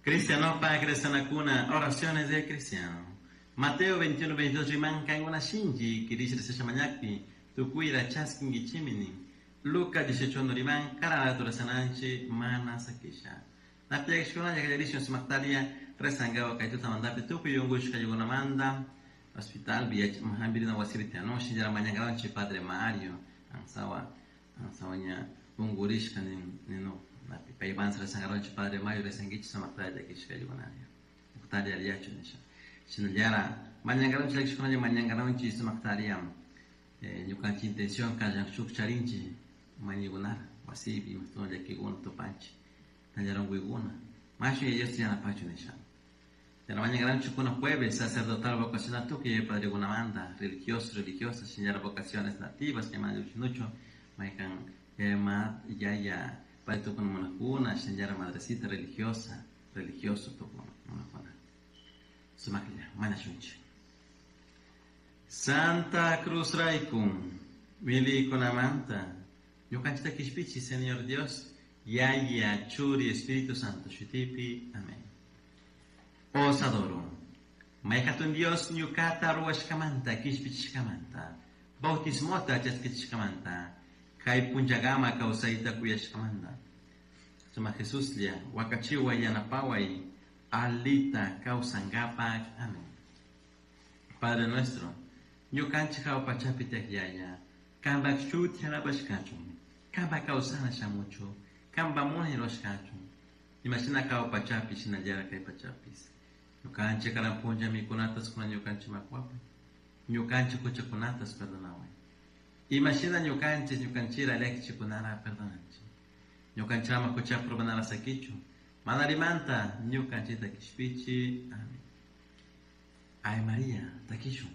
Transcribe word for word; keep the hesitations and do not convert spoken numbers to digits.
Cristiano pa cristianakuna, oraciones de cristiano. Mateo veintiuno, veintidós riman kankuna shinchi kirisha rezasha mañakpi tukuyta chaskinkichimi nin. Lucas dieciocho uno riman karanata rezananchik mana sakisha. Napiakishkunalla kallarishun sumaktaria rezankapak kay tutamantapi tukuy unkushkaykunamanta hospital hampirina wasipi tiyanun shinallara mañankaranchik Padre Mario ansawa ansawa ña unkurishka nin ninu napi paypansa rezankaranchik Padre Mario rezankichik sumaktaria llakishkaykunalla uktalla alliyachu nisha. Shinallara mañankaranchik llakishkunalla mañankaranchik sumaktaria ñukanchik intención kallan shuk charinchik mañaykunara wasipi imashtuwan llakikuna tupanchik tallara unkuykuna mashu Dios yanapachu nisha. Pero mañana jueves sacerdotal vocacional tukuy padrekunamanta religiosos, religiosas, shinallara vocaciones nativas llaman nucho maykan ma yaya padre tukuna munakuna shinallara madrecita religiosa, religioso tukuna munakuna. Sumaklla mañashunchik. Santa Cruz Raikum, milikunamanta, ñukanchikta kishpichi, Señor Dios, Yaya, Churi, Espíritu Santo, shutipi, amén. Os adoro. Mayhatun Dios ñukata ruwashkamanta, kishpichishkamanta, bautismota chaskichishkamanta, kay punllakama kawsayta kuyashkamanta. Suma Jesuslla, wakachiway yanapaway, alita kawsankapak. Amén. Padre nuestro, ñukanchik hawa pachapi tiyak Yaya, kanpak shuti alabashkachun, kanpak kawsana shamuchu, kanpak munay rurashkachun, imashina hawa pachapi shinallara kay pachapis. Ñukanchik karan punlla mikunatas kuna ñukanchik makuapay, ñukanchik huchakunatas perdonaway. Imashina ñukanchik ñukanchira llakichikunara perdonanchik. Ñukanchama hucha pruebanara sakichu, manarimanta ñukanchikta kishpichi. Amén. Ay María, takishun.